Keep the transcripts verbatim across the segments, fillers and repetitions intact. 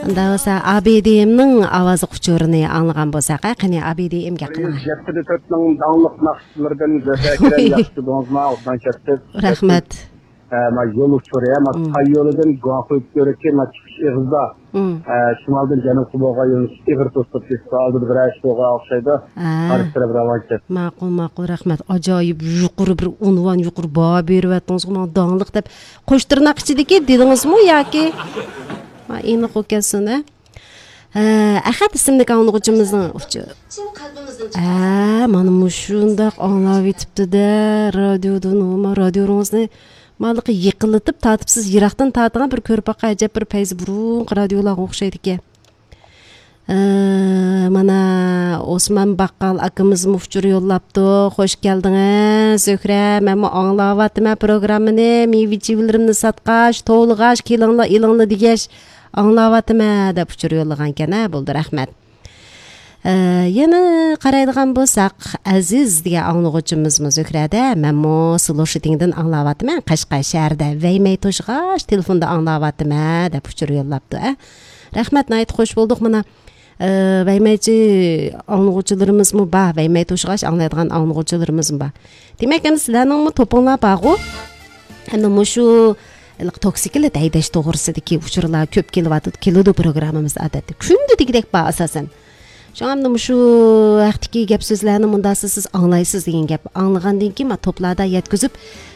ئۇنداق بولسا، ئابىدىيىمنىڭ ئاۋازلىق ئۇچۇرىنى ئاڭلىغان بولساق، ھە، قېنى، ئابىدىيىم گەپ قىلىڭ. يەتتە دە تۆتنىڭ داڭلىق ناخشىچىلىرىدىن گۆھەر كېرەم، ياخشى تۇردىڭىزمۇ؟ ئوبدان كەتتى. رەھمەت. ئە، ما يول ئۇچۇرى، ھە، ما مم. تاي يولىدىن گۇاڭخۇي كۆرۈكى، ما چىقىش ئېغىزدا. مم. ئە، شىمالدىن جەنۇبقا بولغان يۆنىلىش ئېغىر توسۇلۇپ كېتىپتۇ. ئالدىدا بىرەر ئىش بولغان ئوخشايدۇ. ھە. قارشى تەرەپ راۋان كەتتى. ماقۇل، ماقۇل، رەھمەت. ئاجايىپ يۇقىرى بىر ئۇنۋان، يۇقىرى باھا بېرىۋەتتىڭىزغۇ ماڭا داڭلىق دەپ. قوش تىرناق ئىچىدىكى دېدىڭىزمۇ ياكى؟ ما ئېنىق بولۇپ كەتسۇن، ھە؟ ھە، ئەخەت ئىسىملىك ئاڭلىغۇچىمىزنىڭ ئۇچۇ-، ھە، مانا مۇشۇنداق ئاڭلاۋېتىپتۇ-دە، رادىيودىن، ئۇما رادىيوڭىزنى مالىقى يېقىنلىتىپ تارتىپسىز، يىراقتىن تارتىڭ، بىر كۆرۈپ باققان ئەجەب بىر پەيزى بۇرۇنقى رادىيولارغا ئوخشايدىكەن. ھە، مانا ئوسمان باققال ئاكىمىز مۇخچۇر يوللاپتۇ. خوش كەلدىڭىز، زۆھرە. مەنمۇ ئاڭلاۋاتىمەن پروگراممىنى. مېۋە-چېۋىلىرىمنى ساتقاچ، توۋلىغاچ، كېلىڭلار، ئېلىڭلار دېگەچ، ئاڭلاۋاتىمەن دەپ ئۇچۇر يوللىغانكەن، ھە، بولدى، رەھمەت. ئە، يەنە قارايدىغان بولساق، ئەزىز دېگەن ئاڭلىغۇچىمىزمۇ زۆھرەدە، مەنمۇ سلوشىتىڭدىن ئاڭلاۋاتىمەن، قەشقەر شەھىرىدە ۋەيمەي توشۇغاچ تېلېفوندا ئاڭلاۋاتىمەن دەپ ئۇچۇر يوللاپتۇ، ھە. رەھمەت، ناھايىتى خوش بولدۇق. مانا، ئە، ۋەيمەيچى ئاڭلىغۇچىلىرىمىزمۇ بار، ۋەيمەي توشۇغاچ ئاڭلايدىغان ئاڭلىغۇچىلىرىمىزمۇ بار. دېمەك، ئەمدى سىلەرنىڭمۇ توپۇڭلار بارغۇ؟ ئەمدى مۇشۇ ھېلىقى توكسىكلىت ھەيدەش توغرىسىدىكى ئۇچۇرلار كۆپ كېلىۋاتىدۇ، كېلىدۇ پروگراممىمىزدا ئادەتتە. كۈندە دېگۈدەك بار ئاساسەن. شۇڭا ئەمدى مۇشۇ ھەقتىكى گەپ سۆزلەرنى مۇنداق سىز، سىز ئاڭلايسىز دېگەن گەپ. ئاڭلىغاندىن كېيىن ما توپلاردا يەتكۈزۈپ،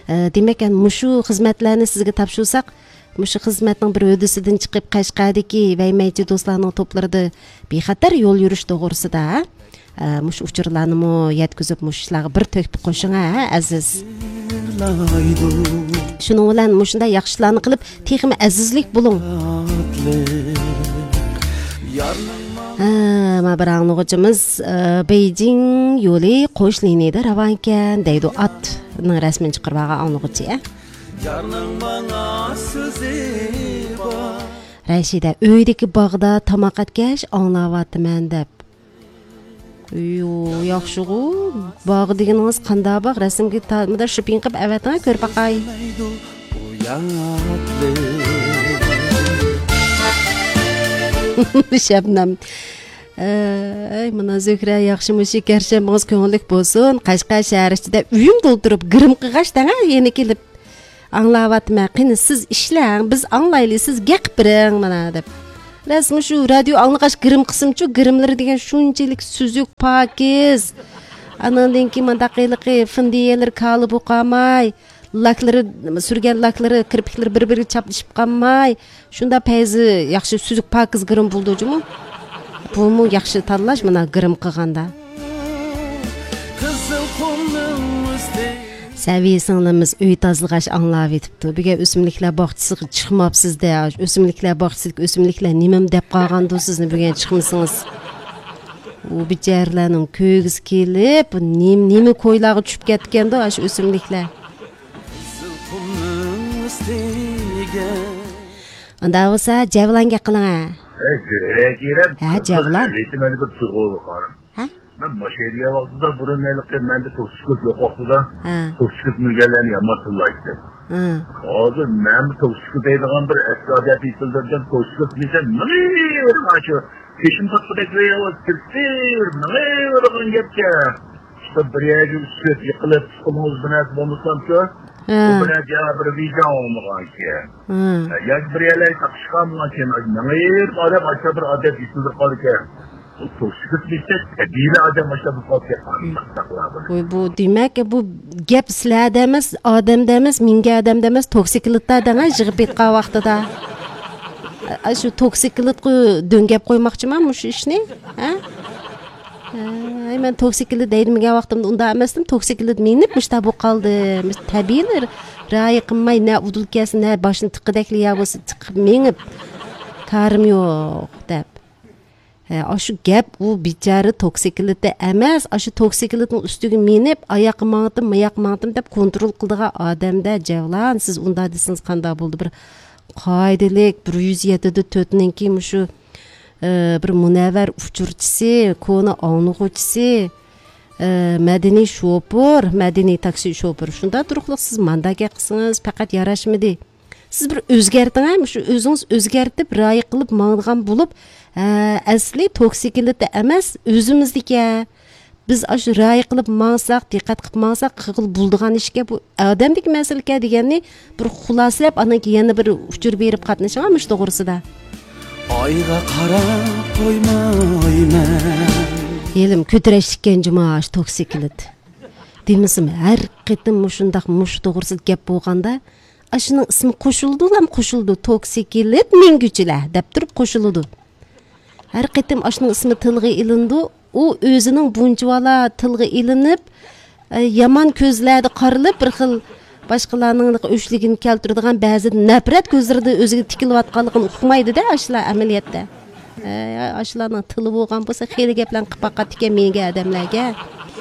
ئە، دېمەك، ئەمدى مۇشۇ خىزمەتلەرنى سىزگە تاپشۇرساق، مۇشۇ خىزمەتنىڭ بىر ھۆددىسىدىن چىقىپ، قەشقەردىكى ۋەيمەيچى دوستلارنىڭ توپلىرىدا بىخەتەر يول يۈرۈش توغرىسىدا، ھە؟ ئە، مۇشۇ ئۇچۇرلارنىمۇ يەتكۈزۈپ، مۇشۇ ئىشلارغا بىر تۆھپە قوشۇڭ، ھە، ئەزىز. شۇنىڭ بىلەن مۇشۇنداق ياخشى ئىشلارنى قىلىپ، تېخىمۇ ئەزىزلىك بولۇڭ. ھە، مانا بىر ئاڭلىغۇچىمىز، ئە، بېيجىڭ يولى قوش لىنىيىدە راۋانكەن دەيدۇ، ئاتنىڭ رەسىمىنى چىقىرىپ ئالغان ئاڭلىغۇچى، ھە. رەشىدە، ئۆيدىكى باغدا تاماق ئەتكەچ ئاڭلاۋاتىمەن دەپ. يو، ياخشىغۇ. باغ دېگىنىڭىز قانداق باغ؟ رەسىمگە تا-، مۇنداق شىپىڭ قىلىپ ئەۋەتىڭە، كۆرۈپ باقاي. شەبنەم. ئەي، مانا زۆھرە، ياخشىمۇ شېكەرشەم، مېڭىز كۆڭۈللۈك بولسۇن. قەشقەر شەھەر ئىچىدە ئۆيۈم تولتۇرۇپ گىرىم قىلغاچ دەڭە، يەنە كېلىپ. ئاڭلاۋاتىمەن، قېنى سىز ئىشلەڭ، بىز ئاڭلايلى، سىز گەپ بېرىڭ مانا دەپ. راست مۇشۇ رادىيو ئاڭلىغاچ گىرىم قىسمىچۇ، گىرىملىرى دېگەن شۇنچىلىك سۈزۈك، پاكىز. ئاناندىن كېيىن مانداق ھېلىقى فىندىيەلىرى كالا بولۇپ قالماي، لاكلىرى، سۈرگەن لاكلىرى، كىرپىكلىرى بىر-بىرىگە چاپلىشىپ قالماي، شۇنداق پەيزى ياخشى، سۈزۈك، پاكىز گىرىم بولىدۇ جۇمۇ. بۇمۇ ياخشى تاللاش، مانا گىرىم قىلغاندا. سەۋىيە سىڭلىمىز ئۆي تازىلىغاچ ئاڭلاۋېتىپتۇ. بۈگۈن ئۆسۈملۈكلەر باغچىسىغا چىقماپسىز-دە. ئۆسۈملۈكلەر باغچىسىدىكى ئۆسۈملۈكلەر نېمىمۇ دەپ قالغاندۇ سىزنى بۈگۈن چىقمىسىڭىز؟ ئۇ بىچارىلەرنىڭ كۆرگۈسى كېلىپ، نېمە، نېمە كويلارغا چۈشۈپ كەتكەندۇ ئاشۇ ئۆسۈملۈكلەر؟ ئۇنداق بولسا جەۋلان گەپ قىلىڭ ھە. ھە، جەۋلان. ھە؟ مەن ماشىنا ھەيدىگەن ۋاقتىدا بۇرۇن ھېلىقى مەندە توكسىكوت يوق ۋاقتىدا ھە. توكسىكوت مىنگەنلەرنى يامان تىللايتتىم. ھە. ھازىر مەنمۇ توكسىكوت دەيدىغان بىر ئەسكى ئادەت يېتىلدۈردۈم. توكسىكوت دېسەم، مېڭىۋېرىڭ ئاشۇ. تېشىم تارتقۇدەك بىر ئاۋاز كىرسىر، مېڭىۋېرىدىغان گەپكەن. شۇ بىر يەرگە چۈشۈپ يىقىلىپ، پۇت-قولىڭىز بىر نەرسە بولمىسامچۇ، ھە. بۇ بىر نەرسە بىر ۋىجدان بولمىغانكەن. ھە. ياكى بىر يەرلەرگە تاقىشىپ قالمىغانكەن، مېڭىۋېرىپ ئادەم ئاشۇ بىر ئادەت يېتىلدۈرۈپ قالىدىكەن. بۇ توكسىكوت دېسەك، تەبىئىي ئادەم ئاشۇ بولۇپ قالىدىكەن. قانداق قىلار بۇنى؟ ۋوي، بۇ دېمەك، بۇ گەپ سىلەردە ئەمەس، ئادەمدە ئەمەس، مىڭگە ئادەمدە ئەمەس، توكسىكلىتتا دەڭە يىغىپ يېتقان ۋاقتىدا. ئاشۇ توكسىكلىتقا دۆڭگەپ قويماقچىما مۇشۇ ئىشنى؟ ھە؟ ھەي، مەن توكسىكلىت ھەيدىمىگەن ۋاقتىمدا ئۇنداق ئەمەستىم، توكسىكلىت مىنىپ مۇشۇنداق بولۇپ قالدىم. تەبىئىي رايى قىلماي، نە ئۇدۇل كەلسە، نە باشنى تىققىدەكلا يا بولسا تىقىپ مېڭىپ، كارىم يوق دەپ. ھە، ئاشۇ گەپ ئۇ بىچارە توكسىكلىتى ئەمەس، ئاشۇ توكسىكلىتنىڭ ئۈستىگە مىنىپ، ئاياققا ماڭىتىم، ماياققا ماڭىتىم دەپ كونترول قىلىدىغان ئادەمدە جەۋلان، سىز ئۇنداق دېسىڭىز قانداق بولىدۇ؟ بىر قائىدىلىك، بىر يۈز يەتتە دە تۆتنىڭكى مۇشۇ ئى، بىر مۇنەۋۋەر ئۇچۇرچىسى، كونا ئاڭلىغۇچىسى، ئى، مەدەنىي شوپۇر، مەدەنىي تاكسى شوپۇرى. شۇنداق تۇرۇقلۇق سىز مانداق گەپ قىلسىڭىز پەقەت ياراشمىدى. سىز بىر ئۆزگەرتىڭ ھە، مۇشۇ ئۆزىڭىز ئۆزگەرتىپ، رىئايە قىلىپ ماڭىدىغان بولۇپ، ھە، ئەسلى توكسىكلىتتا ئەمەس، ئۆزىمىزدىكى. بىز ئاشۇ رىئايە قىلىپ ماڭساق، دىققەت قىلىپ ماڭساق، قىلغىلى بولىدىغان ئىشكەن، بۇ ئادەمدىكى مەسىلىكەن دېگەننى بىر خۇلاسىلەپ، ئاندىن كېيىن يەنە بىر ئۇچۇر بېرىپ قاتنىشىڭ مۇشۇ توغرىسىدا. ئايغا قاراپ قويمايمەن. ھېلىم كۆتۈرەشلىككەن جۇما ئاشۇ توكسىكلىت. دېمىسىمۇ، ھەر قېتىم مۇشۇنداق مۇشۇ توغرىسىدا گەپ بولغاندا، ئاشۇنىڭ ئىسمى قوشۇلىدۇلام قوشۇلىدۇ، توكسىكلىت مىنگۈچىلەر دەپ تۇرۇپ قوشۇلىدۇ. ھەر قېتىم ئاشۇنىڭ ئىسمى تىلغا ئېلىنىدۇ، ئۇ ئۆزىنىڭ بۇنچىۋالا تىلغا ئېلىنىپ، ئە، يامان كۆزلەردە قارىلىپ، بىر خىل باشقىلارنىڭ ئۆچلۈكىنى كەلتۈرىدىغان، بەزىدە نەپرەت كۆزلىرىدە ئۆزىگە تىكىلىۋاتقانلىقىنى ئۇقمايدۇ-دە ئاشۇلار ئەمەلىيەتتە. ئەي، ئاشۇلارنىڭ تىلى بولغان بولسا، خېلى گەپلەرنى قىلىپ باقاتتىكەن مېنىڭ ئادەملەرگە.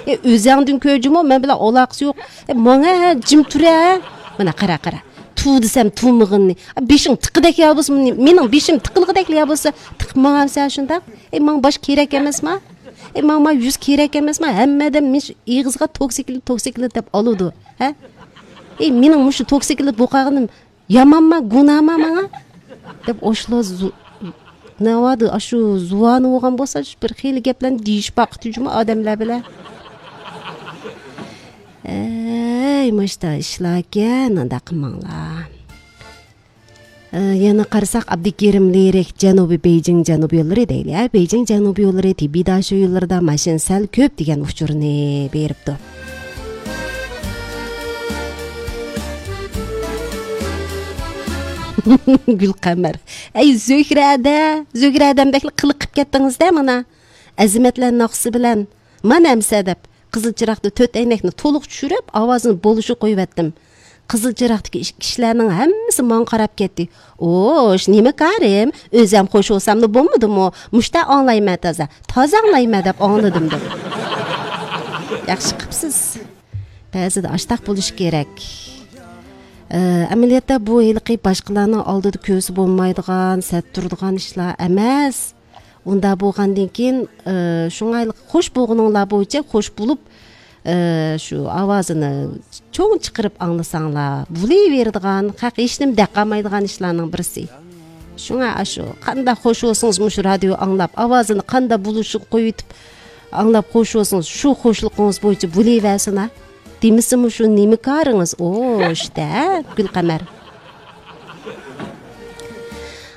ئەي، ئۆزەڭدىن كۆر جۇمۇ، مەن بىلەن ئالاقىسى يوق. ئەي، ماڭا ھە، جىم تۇر ھە. مانا قارا، قارا. تۇ دېسەم تۇمىغىنى. بېشىڭ تىقىدەك يا بولسا، مېنىڭ بېشىم تىقىلغۇدەك يا بولسا، تىقىپ ماڭامسەن شۇنداق؟ ئەي، ماڭا باش كېرەك ئەمەسما؟ ئەي، ماڭا، ماڭا يۈز كېرەك ئەمەسما؟ ھەممە ئادەم مىش-، ئېغىزغا توكسىكلىت، توكسىكلىت دەپ ئالىدۇ. ھە؟ ئەي، مېنىڭ مۇشۇ توكسىكلىت بولۇپ قالغىنىم يامانما، گۇناھما ماڭا؟ دەپ ئاشۇلا زۇ-، نەۋادا ئاشۇ زۇۋانى بولغان بولسا، شۇ بىر خېلى گەپلەرنى دېيىشىپ باققۇتى جۇمۇ ئادەملەر بىلەن. ئەي، مۇشتا ئىشلاركەن، ئانداق قىلماڭلار. ئە، يەنە قارىساق، ئابدۇكېرىم لىرىك جەنۇبىي بېيجىڭ جەنۇب يوللىرى دەيلى، ھە؟ بېيجىڭ جەنۇب يوللىرى تىبىي داشۇ يوللىرىدا ماشىنا سەل كۆپ دېگەن ئۇچۇرنى بېرىپتۇ. گۈلقەمەر. ئەي، زۆھرەدە، زۆھرەدەمدەكلا قىلىق قىپ كەتتىڭىز-دە مانا. ئەزىمەتلەر ناخشىسى بىلەن مانا ئەمسە دەپ، قىزىل چىراغدا تۆت ئەينەكنى تولۇق چۈشۈرۈپ، ئاۋازىنى بولۇشىغا قويۇۋەتتىم. قىزىل چىراغدىكى ئىش-، كىشىلەرنىڭ ھەممىسى ماڭا قاراپ كەتتى. ئوش، نېمە كارىم؟ ئۆزەم خوش بولساملا بولمىدىمۇ؟ مۇشتا ئاڭلايمەن تازا. تازا ئاڭلايمەن دەپ ئاڭلىدىم دەپ. ياخشى قىپسىز. بەزىدە ئاشتاق بولۇش كېرەك. ئە، ئەمەلىيەتتە بۇ ھېلىقى باشقىلارنىڭ ئالدىدا كۆرسە بولمايدىغان، سەت تۇرىدىغان ئىشلار ئەمەس. ئۇنداق بولغاندىن كېيىن، ئى، شۇڭا خوش بولغىنىڭلار بويىچە خوش بولۇپ، ئى، شۇ ئاۋازىنى چوڭ چىقىرىپ ئاڭلىساڭلار، بولۇۋېرىدىغان، خەق ھېچنېمە دەپ قالمايدىغان ئىشلارنىڭ بىرسى. شۇڭا ئاشۇ قانداق خوش بولسىڭىز، مۇشۇ رادىيو ئاڭلاپ، ئاۋازىنى قانداق بولۇشىغا قويۇۋېتىپ ئاڭلاپ خوش بولسىڭىز، شۇ خوشلۇقىڭىز بويىچە بولۇۋەرسىنا. دېمىسىمۇ شۇ نېمە كارىڭىز؟ ئوش دە، گۈلقەمەر.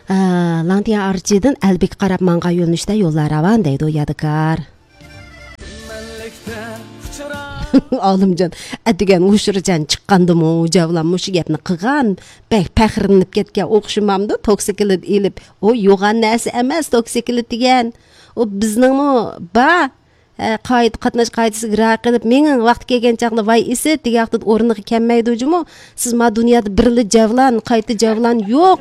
ئا، لاڭتىيا ئارچىدىن ئەلبىگە قاراپ ماڭغان يۆنىلىشتە يوللار راۋان دەيدۇ يادىكار. ئالىمجان، ئەتىگەن ھۇشۇرجان چىققاندىمۇ جەۋلان مۇشۇ گەپنى قىلغان. بەك پەخىرلىنىپ كەتكەن ئوخشىمامدۇ؟ توكسىكلىت ئېلىپ. ئۇ يوغان نەرسە ئەمەس، توكسىكلىت دېگەن. ئۇ بىزنىڭمۇ بار. ھە، قائىدە، قاتناش قائىدىسىگە رىئايە قىلىپ، مېڭىڭ، ۋاقتى كەلگەن چاغدا ۋاي ئىسىت دېگەن ۋاقتىدا ئورنىغا كەلمەيدۇ جۇمۇ. سىز ما دۇنيادا بىرلا جەۋلان، قايتا جەۋلان يوق.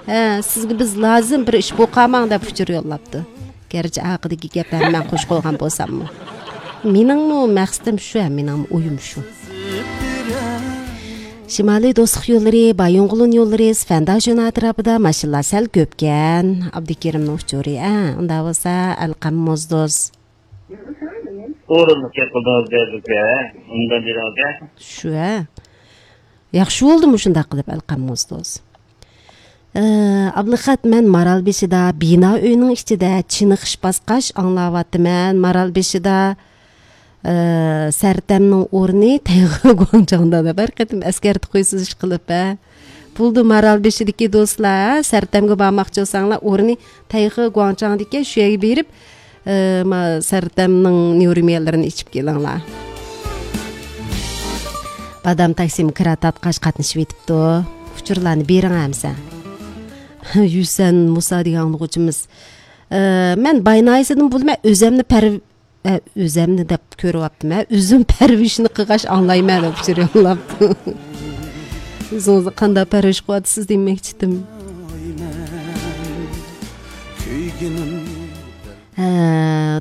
ھە، سىزگە بىز لازىم، بىر ئىش بولۇپ قالماڭ دەپ ئۇچۇر يوللاپتۇ. گەرچە ئارقىدىكى گەپلەرنى مەن قوشۇپ قويغان بولساممۇ. مېنىڭمۇ مەقسىتىم شۇ، ھە، مېنىڭمۇ ئويۇم شۇ. شىمالىي دوستلۇق يوللىرى، بايىنغولىن يوللىرى، سىفەنداشۆن ئەتراپىدا ماشىنىلار سەل كۆپكەن. ئابدۇكېرىمنىڭ ئۇچۇرى، ھە، ئۇنداق بولسا، ئەلقەم موزدوز. ئورۇنلۇق گەپ قىلدىڭىز بەزىكە، ئۇنداق دېدىڭىزكەن. شۇ ھە. ياخشى بولدىمۇ شۇنداق قىلىپ ئەلقەم موزدوز. ئە، ئابلىخەت، مەن مارالبېشىدا، بىنا ئۆينىڭ ئىچىدە، چېنىقىش باسقاچ ئاڭلاۋاتىمەن. مارالبېشىدا، ئە، سەرتەمنىڭ ئورنى تەيخې گۇاڭچاڭدا دەپ ھەر قېتىم ئەسكەرتىپ قويىسىز ئىشقىلىپ، ھە. بولدى، مارالبېشىدىكى دوستلار، ھە، سەرتەمگە بارماقچى بولساڭلار، ئورنى تەيخې گۇاڭچاڭدىكەن، شۇ يەرگە بېرىپ، ئە، ما، سەرتەمنىڭ نيۇرميەنلىرىنى ئىچىپ كېلىڭلار. بادام تاكسىمۇ كىرا تارتقاچ قاتنىشىۋېتىپتۇ. ئۇچۇرلارنى بېرىڭ ئەمسە. يۈسەن مۇسا دېگەن ئاڭلىغۇچىمىز. ئە، مەن باي ناھىيەسىدىن بولىمەن، ئۆزەمنى پەر-، ئە، ئۆزەمنى دەپ كۆرۈۋاپتىمەن. ئۆزۈم پەرۋىشنى قىلغاچ ئاڭلايمەن دەپ ئۇچۇر يوللاپتۇ. ئۆزىڭىزنى قانداق پەرۋىش قىلىۋاتىسىز دېمەكچىدىم. ھە،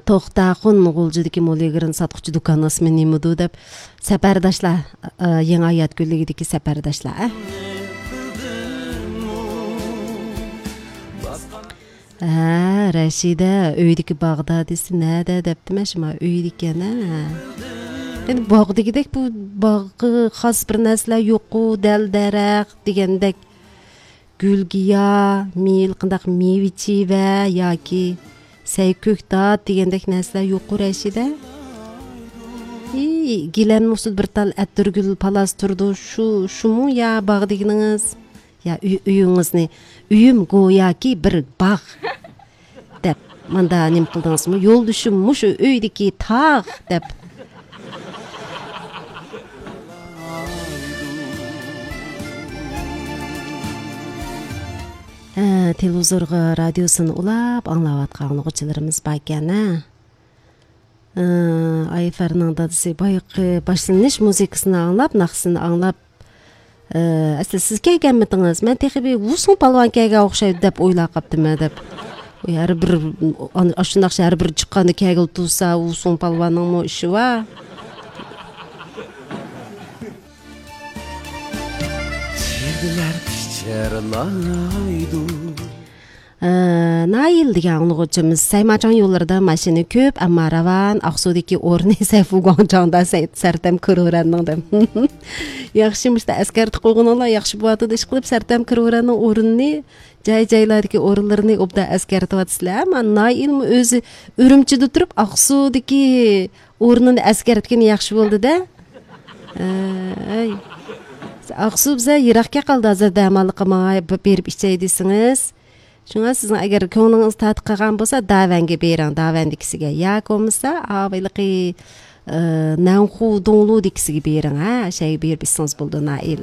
توختاخۇن غۇلجىدىكى مولىگرىن ساتقۇچى دۇكان ئىسمى نېمىدۇ دەپ، سەپەرداشلار، ئە، يېڭى ھايات گۈللۈكىدىكى سەپەرداشلار، ئە. ھە، رەشىدە، ئۆيدىكى باغدا دېسە، نەدە دەپتىمەن، شۇما ئۆيدىكەن، ھە. ئەمدى باغ دېگۈدەك، بۇ باغقا خاس بىر نەرسىلەر يوققۇ، دەل-دەرەخ دېگەندەك. گۈلگىيا، مېۋە، قانداق مېۋە چىۋە ياكى سەي كۆكتات دېگەندەك نەرسىلەر يوققۇ رەشىدە؟ ئى، گىلەنمۇ ئۈستىدە بىر تال ئەتىرگۈل پالاس تۇرىدۇ، شۇ، شۇمۇ يا باغ دېگىنىڭىز؟ يا ئۆي، ئۆيىڭىزنى، «ئۆيۈم گوياكى بىر باغ» دەپ، ماندا نېمە قىلدىڭىزمۇ؟ «يولدىشىم مۇشۇ ئۆيدىكى تاغ» دەپ. ھە، تېلېۋىزورغا رادىيوسىنى ئۇلاپ ئاڭلاۋاتقان ئاڭلىغۇچىلىرىمىز باركەن، ھە. ئە، ئايفەرنىڭ دادىسى بايىقى باشلىنىش مۇزىكىسىنى ئاڭلاپ، ناخشىسىنى ئاڭلاپ، ئە، «ئەسلى سىز كەلگەنمىدىڭىز؟ مەن تېخى بىر ۋۇسۇڭ پالۋان كەلگەن ئوخشايدۇ» دەپ ئويلاپ قاپتىمەن دەپ. ھەر بىر، ئاشۇ ناخشا ھەر بىر چىققاندا كەلگىلى تۇرسا، ۋۇسۇڭ پالۋاننىڭمۇ ئىشى بار. چىگىلەر پىچىرلايدۇ. ئە، نايىل دېگەن ئاڭلىغۇچىمىز، سەيماچاڭ يوللىرىدا ماشىنا كۆپ، ئەمما راۋان، ئاقسۇدىكى ئورنى سەيفۇ گۇاڭچاڭدا سەي-، سەرتەم كىرورەننىڭ دەپ. ياخشى، مۇشتا ئەسكەرتىپ قويغىنىڭلار ياخشى بولۇۋاتىدۇ، ئىشقىلىپ سەرتەم كىرورەننىڭ ئورنىنى، جاي-جايلاردىكى ئورۇنلىرىنى ئوبدان ئەسكەرتىۋاتىسىلەر. ئەمما نايىلمۇ ئۆزى ئۈرۈمچىدە تۇرۇپ، ئاقسۇدىكى ئورنىنى ئەسكەرتكىنى ياخشى بولدى-دە. ئەي. ئاقسۇ بىزە يىراقكەن قالدى، ھازىر دەماللىققا ماڭاي، ب-، بېرىپ ئىچەي دېسىڭىز. شۇڭا سىزنىڭ ئەگەر كۆڭلىڭىز تارتىپ قالغان بولسا، داۋەنگە بېرىڭ، داۋەندىكىسىگە. ياكى بولمىسا، ئاۋېلىقى، ئە، نەنخۇ دوڭلۇ دېكىسىگە بېرىڭ، ھە، شەيگە بېرىپ ئىچسىڭىز بولىدۇ، نائىل.